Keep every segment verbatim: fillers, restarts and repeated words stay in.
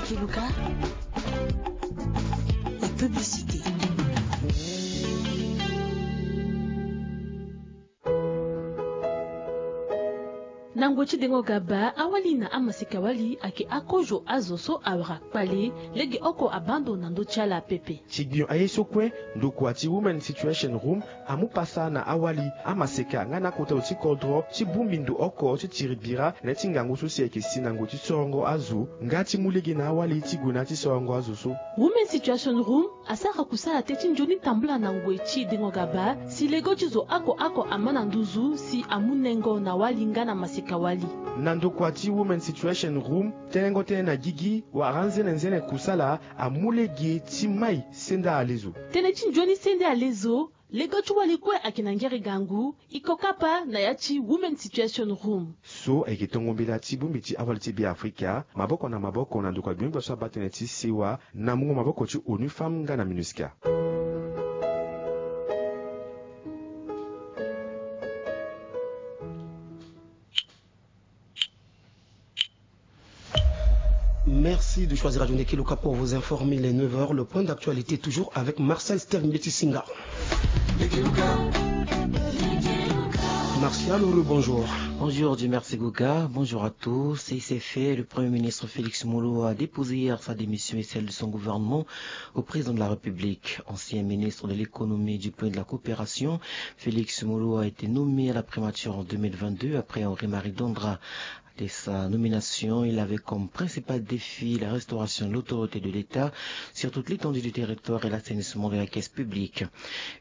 Kiluka, la publicité. Na ngoi ti dengo gaba, awali na amaseka wali ayeke akozo azo so awara kpale, lege oko abaa ndo na ndö ti ala pepe. Ti gbio aye so kue, ndokua ti Women Situation Room amu pasa na awali, amaseka nga na akota zo ti kodro ti bongbi ndo oko ti tiri bira na ya ti ngangu so si ayeke si na ngoi ti sorongo azo nga ti mu lege na awali ti gue na ya ti sorongo azo so. Women Situation Room asara kusala tënë ti nzoni tambula na ngoi ti dengo gaba, si lego ti zo oko oko ama na nduzu si amu nengo na wali nga na maseka wali. Na ndokua ti Women Situation Room, tenengo tënë na gigi wala nzene nzene kusala amu lege ti mai senda alezo. Tënë ti nzoni sende alezo, lego ti wali kue ayeke na ngere gangu, e ko kapa na ya ti Women Situation Room. So ayeke tongo mbela ti bongbi ti awali ti Beafrika, maboko na maboko na ndokua gbengbe so abaa tënë ti sewa, na mungo maboko ti ONU Femmes nga na MINUSCA. Merci de choisir Radio Ndeke Luka pour vous informer les neuf heures. Le point d'actualité toujours avec Marcel Steve Mbetisinga. Martial, bonjour. Bonjour, Dieu merci Guga. Bonjour à tous. Et c'est fait, le Premier ministre Félix Molo a déposé hier sa démission et celle de son gouvernement au président de la République. Ancien ministre de l'économie, du plan et de la coopération, Félix Molo a été nommé à la primature en deux mille vingt-deux après Henri-Marie Dondra. Dès sa nomination, il avait comme principal défi la restauration de l'autorité de l'État sur toute l'étendue du territoire et l'assainissement de la caisse publique.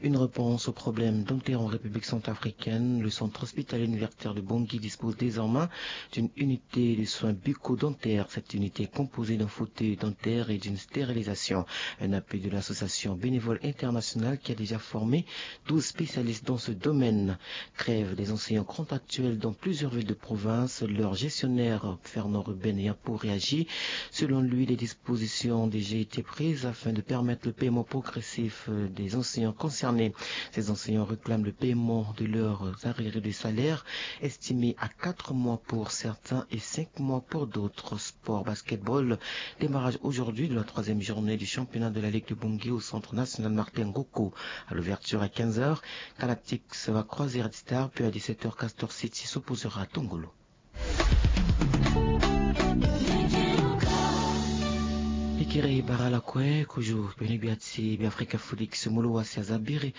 Une réponse au problème dentaire en République centrafricaine, le centre hospitalier universitaire de Bangui dispose désormais d'une unité de soins bucco-dentaires. Cette unité est composée d'un fauteuil dentaire et d'une stérilisation. Un appui de l'association Bénévoles Internationale qui a déjà formé douze spécialistes dans ce domaine. Grève des enseignants contractuels dans plusieurs villes de province. Leur gestionnaire, Fernand Ruben Yapo, réagit. Selon lui, des dispositions ont déjà été prises afin de permettre le paiement progressif des enseignants concernés. Ces enseignants réclament le paiement de leurs arriérés de salaire, estimés à quatre mois pour certains et cinq mois pour d'autres. Sport basketball, démarrage aujourd'hui de la troisième journée du championnat de la Ligue de Bangui au centre national Martin Ngoko. À l'ouverture à quinze heures, Galactics va croiser Red Star, puis à dix-sept heures, Castor City s'opposera à Tongolo. Ikiri bara la kue, kozo bene gbia ti Beafrika Félix Molo Wasi aza biri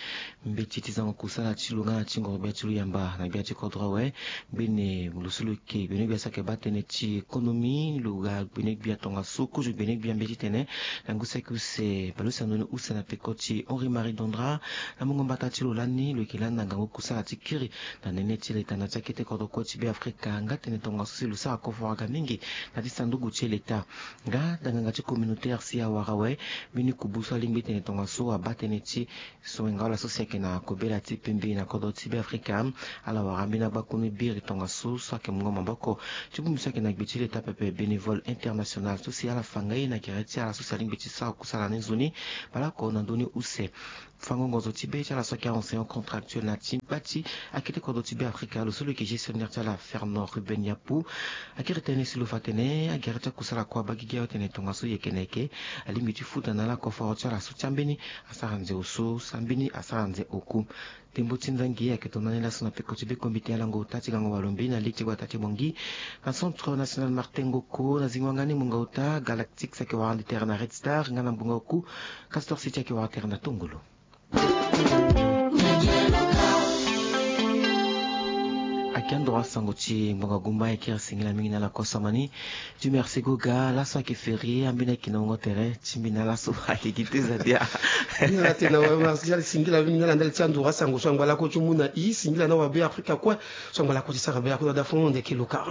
mbeti ti zango kusala ti lo nga na ti ngoro gbia ti lo yamba na gbia ti kodro awe. Mbeni lo so lo yeke bene gbia so ayeke baa tënë ti économie, lo ga bene gbia tongaso kozo bene gbia mbeti tene na ngu saki use baleuse na ndoni use na peko ti Henri Marie Dondra. Na mungo mbata ti lo lani lo yeke lani na ngangu kusala ti kiri na nene ti leta na ti akete kodro kue ti Beafrika nga tene tongaso si lo sara koforo aga mingi na ti sanduku ti leta. Nga danganga ti communautaire si awara awe, mbeni kubu so alingbi tene tongaso abaa tënë ti so wenga wala so si ayeke na kobela ti pembe na kodro ti Beafrika. Ala wara ambeni agbakunu biri tongaso so ayeke mungo maboko ti bongbi so ayeke na gbe ti leta pepe Bénévoles Internationales so si ala fa nga ye na gere ti ala so si alingbi ti sara kusala ni nzoni baleoko na ndoni use. Fango ngonzo ti be ti ala so ayeke enseignant contractuel na ti gba ti akete kodro ti Beafrika, lo so lo yeke gestionnaire ti ala Fernand Ruben Yapo akiri tënë si lo fa tene agere ti akusala kue abaa gigi awe tene tongaso yeke na yeke alingbi ti futa na ala koforo ti ala so ti ambeni asara nze oso, so ambeni asara nze oku. Ndembo ti nzangi ayeke tongana ni laso na peko ti be comité alango ota ti gango walo mbi na ligue ti gbata ti Bangui na centre national Martin Ngoko na zingo wanga ni mungo ota Galactics ayeke wara ande tere na Red Star nga na mungo oku Castor City ayeke wara tere na Tongolo. Ayeke andro asango ti ngbonga gumba ayeke singila mingi na ala kue samani. Dieu merci Goga, laso ayeke férié, ambeni ayeke na wungo tere ti mbi na laso ayeke gi te zadia. Ni na tena wa Martial, singila mingi na ala ndali ti andro asango so angba lakue ti mu na i, singila na wa Beafrika kue so angba lakue ti sara Beafrika na da fo na ndeke luka.